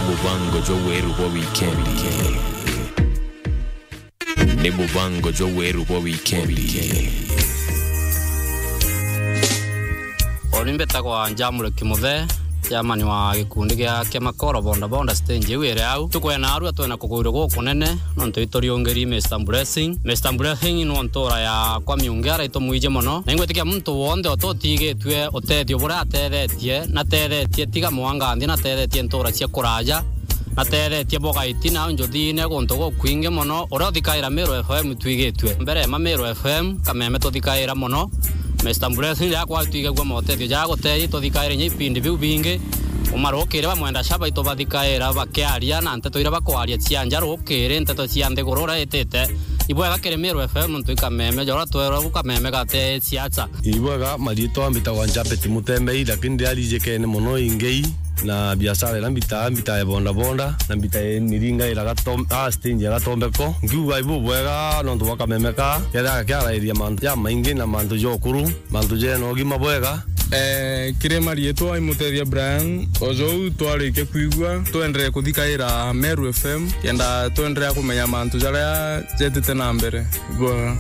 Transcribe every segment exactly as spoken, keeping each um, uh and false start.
Mubango jwa weru bwa wikendi. Ni mubango jwa weru bwa wikendi. Uni mbitagwa Njamule Kimuthe, chairman wa gikundi gia, kia Makoro Bonda Bonda stage iu iri au. Tukwena arua twena kugwirwa gukunene, nontu ituriungiri Mister Blessing. Mister Blessing ni ntura ya kwa miungi ara itumwiji mono. Na ingwitikia muntu wonthe ututigitue utethio buria atethetie, na tethetie tiga mwanga nthi, na tethetie ntura cia kuraja, na tethetie bogaiti na njuthine guntu gukwingi mono. Uria uthikaira Meru F M twigitue. Mbere ma Meru F M, kameme tuthikaira mono. Mister Blessing, riria kwa twigagua motethio ja gutethi, tuthikaire inya ipindi biu bingi. Umarukire bamwenda shaba itubathikaira bakiaria na nteto iria bakwaria cia nja rukiri, nteto cia nthiguru uria itite. Ibwega kiri Meru F M ntu ikameme, jora twerwa kameme gate siasa. Ibwega, mariitwa mbitagwa Njabeti Mutembei, lakini ndiarijikene mono ingei na biashara iria mbitaa, mbitaa ya bonda bonda, na mbitaa ya miringa ira Gatom-, ah, stage ya Gatombeko. Nkiuga ibu bwega nontu bwa kameme ka, kethira kiarairia mantu ja maingi na mantu ja ukuru, mantu jena ugima bwega. Eh, kiri mariitwa imutethia Brian, ojou twarikia kwigua, twenderee kuthikaira Meru F M, kenda twenderea kumenya mantu jaria jetite na mbere. Bwega.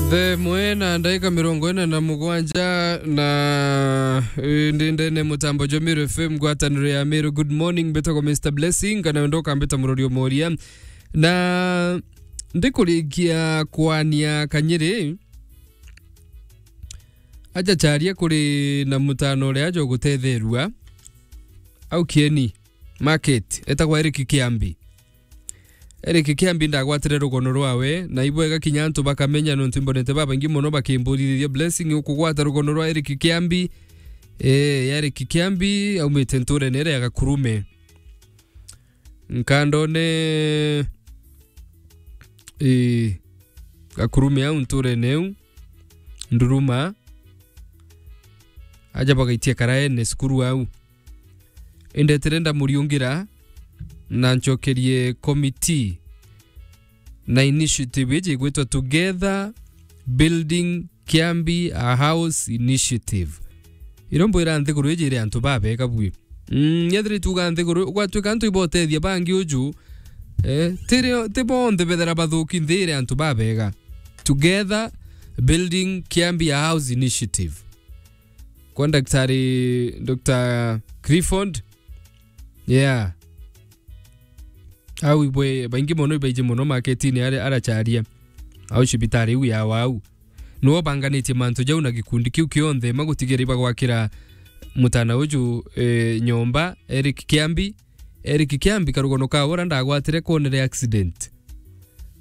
The mwe na ndaika mirongo ina na mugwanja na, eh, ndi ndene mutambo jwa Meru F M, ngwataniro ya Meru. Good morning, mbitagwa Mister Blessing, kana wenda ukambita murori o moria. Na ndikurikia kwania kanyiri, aja charia kuri na mutano uria aja ugutetherua au Kieni Market, etagwa Eric Kiambi. Eric Kiambi ndagwatire rugono rwawe, na ibwega kinya antu bakamenya, nontu imbonete babaingi mono bakimburirithia, Blessing, ukugwata rugono rwa Eric Kiambi? Ee, Eric Kiambi aumite nturene iria ya Gakurume. Nkandone, ii, Gakurume au nturene iu, Nduruma, aja bagaitia karaene cukuru au. Indetire ndamuriungira na ncokerie committee na initiative iji igwitwa Together Building Kiambi a House Initiative. Irio mbwira nthiguru iji iri antu babega bui. Mm, yethira ituga nthiguru, gwatuika antu ibotethia bangi uju, eh, tiri, ti bonthe bethira bathuki nthi iri antu babega. Together Building Kiambi a House Initiative. Kwa Daktari Doctor Clifford, yeah. Au ibwe, baingi mono ibaiji mono marketini ari, aracharia. Au cibitari iu ya wau. Niwe ubanganitie mantu jau na gikundi kiu kionthe, ma gutigira ibagwakira mutana uju, eh, nyomba, Eric Kiambi. Eric Kiambi karugono ka ura ndagwatire kwonere accident.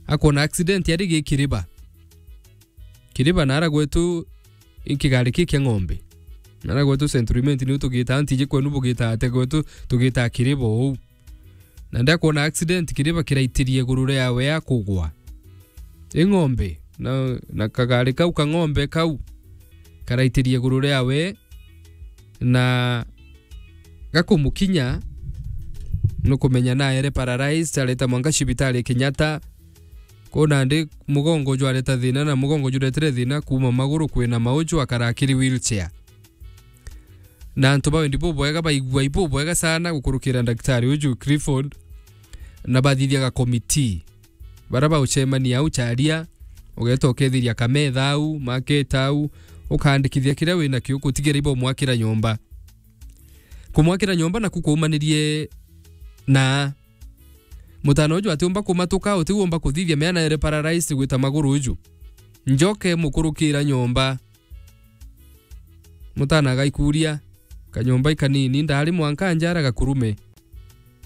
Akwona accident ari gikiriba. Kiriba nara gwetu i kigari ki kia ng'ombe. Nara gwetu Central Imenti niu tugitaa, ntiji kwenu bugitaa atia, gwetu tugitaa Kiriba uu. Na ndakwona accident, Kiriba kiraitirie iguru riawe akugwa. I ng'ombe, na, na kagari kau ka ng'ombe kau karaitirie iguru riawe, na gakumukinya, nukumenya naere paralyzed, areta mwanka cibitari Kenyatta. Kuu nandi mugongo jwareta thina, na mugongo juretire thina kuuma maguru kwina mauju, akara akiri wheelchair. Na antu ba wendi bubwega baigua ibubwega sana gukurukira ndagitari uju Clifford, na bathithia ga committee. Bara baucemania au charia, ugeeta ukethiria kametha au, market au, ukaandikithia kiria winakio, gutigira ibomwakira nyomba. Kumwakira nyomba naku kwaumanirie na mutana uju atiumba kumatuka, utiumba kuthithia, meana ere paralyzed gwita maguru uju. Njoke mukurukira nyomba. Mutana agaikuria, kanyomba ikanini, ndari mwanka njara Gakurume.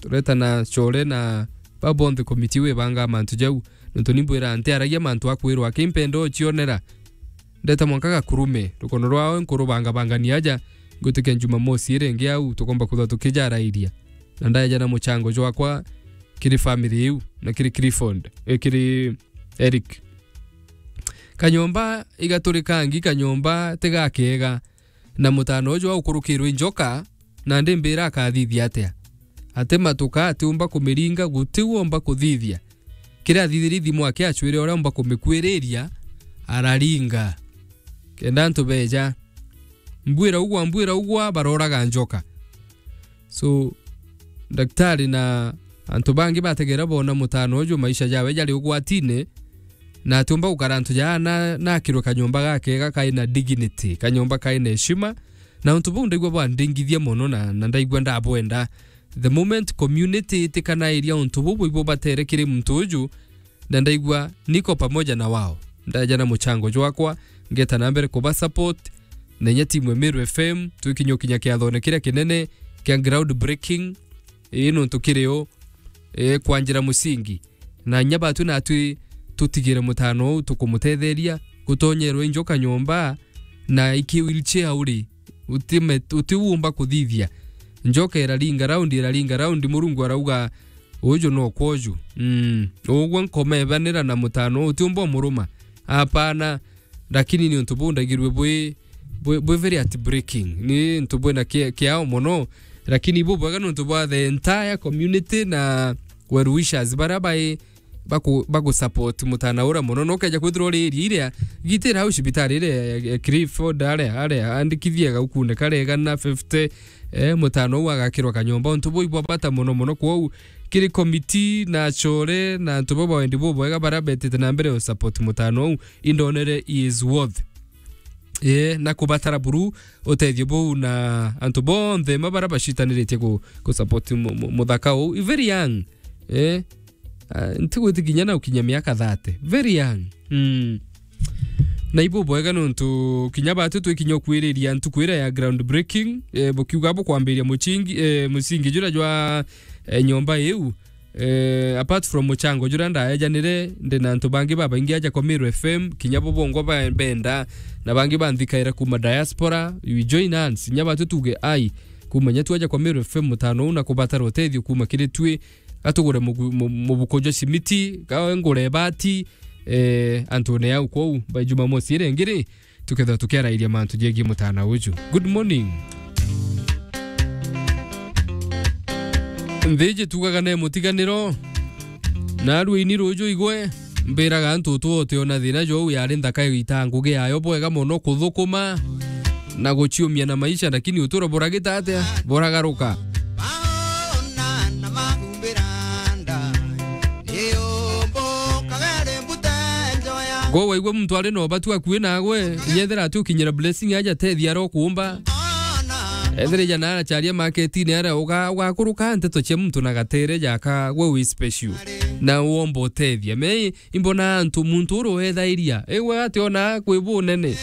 Turetana core na ba bonthe committee iu ibangaa mantu jau. Nontu ni mbwira ntiaragia mantu akwirwa, aki mpenda ucionera. Ndeta mwanka Gakurume, rukono rwao nkurubangabangania aja, ngwitikia Jumamosi iri ingi au, tukomba kwithwa tukijarairia. Na ndaeja na muchango jwakwa kiri family iu, na kiri Clifford, eh, kiri Eric. Kanyomba igaturikangi, kanyomba tigakega, na mutana uju aukurukirwe njoka, nandi mbira akathithia atia? Atimatuka, atiumba kumiringa, guti uomba kuthithia. Kiria athithirie thimu ake acwire uria umba kumikuiriria, araringa. Kenda antu beja, Mbwira ugwa, mbwira ugwa, baroraga njoka. So, daktari na antu bangi bategera bona mutano uju maisha jawe jari ugwatine, na atiumba gukara antu jaa na, na akirwe kanyomba gakega kai na dignity, kanyomba kai na heshima, na untu buu ndaigua bwandingithia mono na, na ndaigua ndabwenda. The moment community itikanairia untu buu bwibo batere kiri muntu uju, na ndaigua niko pamoja na wao. Ndaja na muchango jwakwa, ngeta na mbere kuba support, na inya timu ya Meru F M, twikinya ukinya kiathone kiria kinene kia ground breaking, ii nuntu kiri o, ii kwanjira musingi. Na inya batwi natwi tutigire mutano uu tukumutetheria, gutonyerwa i njoka nyomba, na iki wheelchair uri, utime-, utiumba kuthithia. Njoka iraringa round, iraringa round, Murungu arauga, "Uju no kwoju." Mm. Ugwe nkomebanira na mutano, utiumba umuruma. Apana, lakini ni untu buu ndagirwe bwi, bwi, bwi very heartbreaking. Ni untu bwina ki-, kiao mono, lakini bubwega ni untu bwa the entire community na well wishers baria bai baku-, bagusupport mutana uria mono. No ukeja kwithirwa uri area iria, gitira au cibitari iria ya, ya Clifford aria, aria, andikithie gaukune karega na fifty, eh, mutana uu agakirwa kanyomba. Untu buu ibwa bata mono mono. Kwou, kiri committee na achore na antu baba wendi bubwega baria betite na mbere usupport mutana uu, indonere he is worth, eh, na kubatara buru utethio buu na antu bonthe ma baria bacitaniritie ku-, kusupport mu-, mu-, muthaka uu. I very young, eh, Ah, ntigwitikinya na ukinya miaka thirty. Very young. Mm. Na ibu bwega nontu kinya batu twikinya ukwiriria ntuku iria ya ground breaking, eh, bukiuga bukwambiria muchingi, eh, musingi jura jwa, eh, nyomba iu. Eh, apart from muchango jura ndaejanire, ndi na antu bangi babaingi aja kwa Meru F M, kinya bo bongwa ba-, benda, na bangi banthikaira kuma diaspora, you join hands, kinya batu tuge ai, kuma nya twaja kwa Meru F M mutano uu na kubatara utethio kuma kiri twi, gatugure mugu-, mu-, mubuko jwa cimiti, ga ngure ibati, eh, antune yau kwou, by Jumamosi iria ingi ri, tukethirwa tukiarairia mantu jegie mutana uju. Good morning. Nthiji tugaga ne mutiganiro, na aruini ruju igwe, mbiraga antu tu utiona thina jou yari nthaka igita ngugi yayo bwega mono kuthukuma, na guciumia na maisha, lakini utura buragita atia? Buragaruka. Go waigua muntu ari na ubatu akui nagwe, nyethira ati ukinyira blessing aja tethia aro kuumba. Ethira ija na aracharia marketini aria uga-, ugakuruka nteto cia muntu na gatere jaka gwe wi special. Na uomba utethia. Me imbona antu muntu uru wethairia. Ewe ati ona kwi bunene.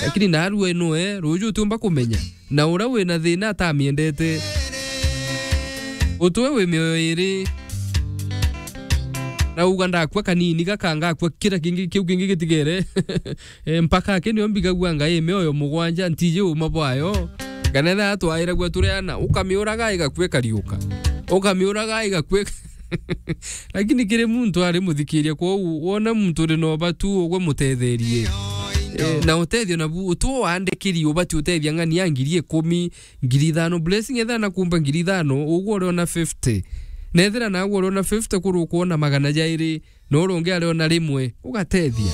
Lakini narua inwe, ruju utiumba kumenya. Na uria wina thina atamiendete. Utwe wi mioyo iri. Na uga ndakua kanini gaka ngakua kira kingi kiu kingi gitigere. Eh, mpaka aki nio mbigagua ngai mioyo mugwanja ntiji uma bwayo. Kana etha atwairagua turi ana, ukamiuraga igakua ikariuka. Ukamiuraga igakua ik-, Lakini kiri muntu ari muthikiria, kwou wona muntu uri na ubatu ugwe mutetherie. Eh, na utethio nabu, utu wandikiri ubati utethia ng'ani ya ngiri ikumi, ngiri ithano, blessing etha na kumba ngiri ithano, ugwe uriona fifty. Na ethira nagwe uriona fifty kuru ukuona magana jairi, na uria ungi ariona rimwe, ugatethia.